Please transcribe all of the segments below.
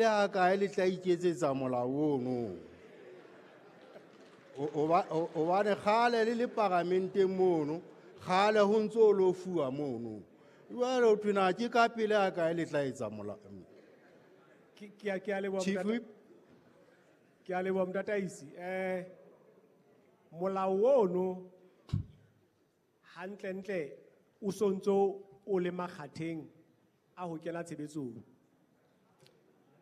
Ha kae le tla iketsetsa molao ono? Hobane kgale le le paramenteng mono, kgale ho ntso o lo fuwa mono. Jwale ho thwe na ke ka pele ha kae le tla etsa molao? Ke a leboha, Chief Motata- Whip. Ke a leboha, Motataisi. Molao ono hantlentle o sontso o le makgatheng a ho kena tshebetsong.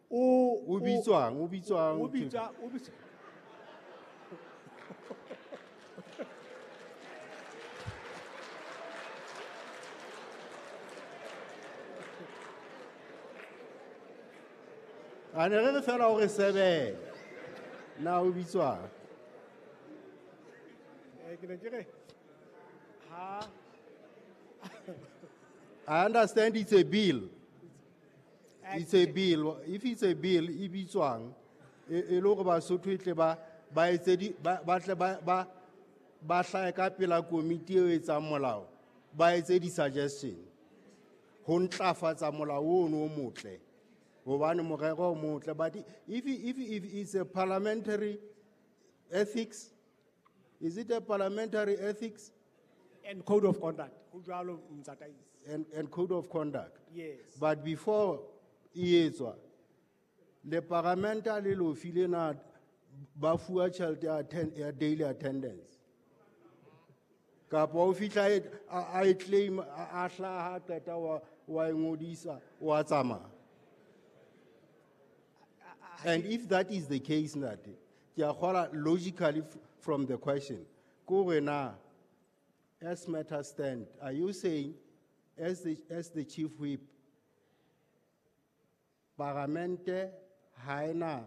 O O bitswang, o bitswang, o Chief? bitswa, o bitswa. A ne re re fela hore sebele. Na o bitswang? Ke ne ke re ha I understand it's a bill. It's a bill. If it's a bill, e bitswang, e le hore Basotho e tle ba, ba etse di, ba, ba tle ba, ba, ba hlahe ka pela komiti eo e etsang molao, ba etse di-suggestion ho ntlafatsa molao ono o motle. Hobane morero o motle, but if it's a parliamentary ethics, is it a parliamentary ethics? And code of conduct. Ho jwalo, Motataisi. And code of conduct. Yes. But before e etswa, le parlamenta le lo file na ba fuwa tjhelete ya ya daily attendance. Kapa o fihla a e claim, a hlaha, qeta wa e ngodisa, wa tsamaya. And if that is the case, Ntate, ke a kgola logically from the question, ko re na, as matters stand, are you saying, as the chief whip, paramente ha ena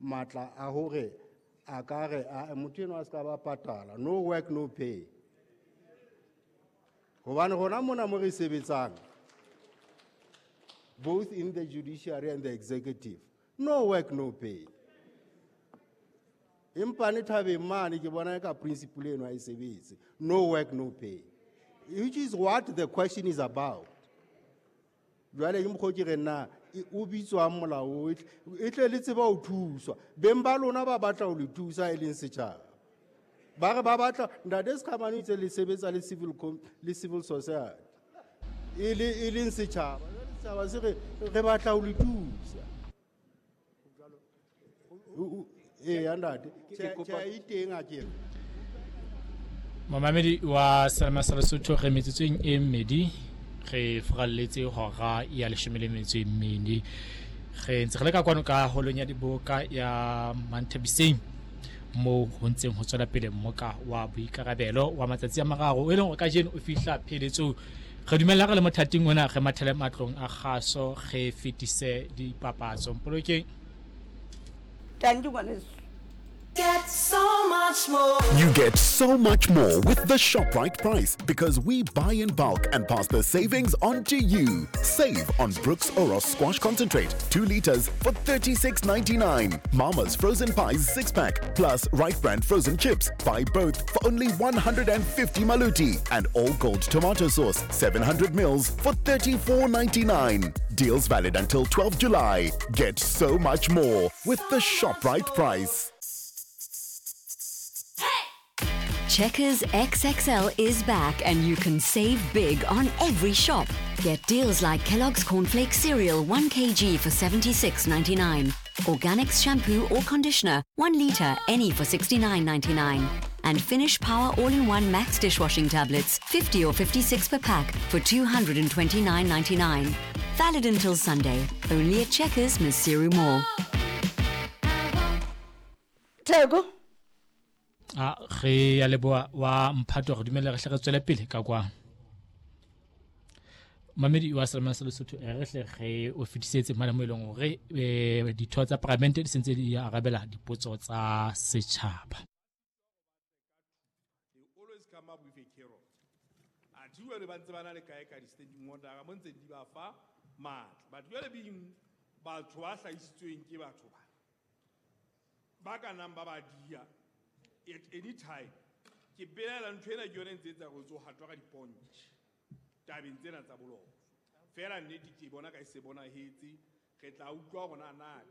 matla a hore a ka re, a, motho enwa a ska ba patala, no work, no pay. Hobane rona mona mo re sebetsang, both in the judiciary and the executive, no work, no pay. Empa ne thabeng mane ke bona ka principle eno ha e sebetse, no work, no pay, which is what the question is about. Jwale ke mokgwa o ke reng na, o bitswang molao o, e tle le tseba ho thuswa. Beng ba lona ba batla ho le thusa e leng setjhaba. Ba re ba batla, Ntate Sekhamane o itse le sebetsa le civil le civil society. E le, e leng setjhaba. Jwale setjhaba se re, re batla ho le thusa. Eya, ntate. Ke Tjhe, kopa tjhe, e teng ha ke re. Momamedi wa Selema sa Lesotho, re metsotsong e mmedi re furalletse hora ya leshome le metso e mmedi. Re ntse re le ka kwano ka holong ya diboka ya Manthabiseng, moo ho ntseng ho tswela pele mmoka wa boikarabelo wa matsatsi a mararo, e leng hore kajeno o fihla pheletsong. Re dumella re le mothating ona re mathele matlong a kgaso, re fetise dipapatso. Mpolokeng. Thank you, ngwaneso. Get so much more. You get so much more with the ShopRite price because we buy in bulk and pass the savings on to you. Save on Brooks Oros Squash Concentrate, 2 liters for $36.99. Mama's Frozen Pies 6-pack plus Right Brand Frozen Chips. Buy both for only 150 maluti. And All Gold Tomato Sauce, 700 mils for $34.99. Deals valid until 12 July. Get so much more with the ShopRite price. Checkers XXL is back and you can save big on every shop. Get deals like Kellogg's Cornflakes Cereal 1 kg for $76.99. Organics shampoo or conditioner 1 litre any for $69.99. And Finish Power All-in-One Max dishwashing tablets 50 or 56 per pack for $229.99. Valid until Sunday. Only at Checkers, Maseru Mall. Theko. A re ya leboha wa mphato, re dumelle re hle re tswele pele ka kwa. Mamedi wa Selema sa Lesotho, re hle re o fetisetse mane mo e leng hore, ditho tsa paramente di sentse di arabela dipotso tsa setjhaba. They always come up with a carrot. Athe jwale ba ntse ba na le kae ka di-standing order, mo ntse di ba fa matla. But jwale being batho ba hlahisitsweng ke batho ba, ba ka nang ba ba dia at any time. Ke belaela ntho ena ke yone e ntse e etsa hore o ntso hatwa ka dipontjhe tabeng tsena tsa boloko. Feela nnete ke bona ka e se bonahetse, Re tla utlwa hore na na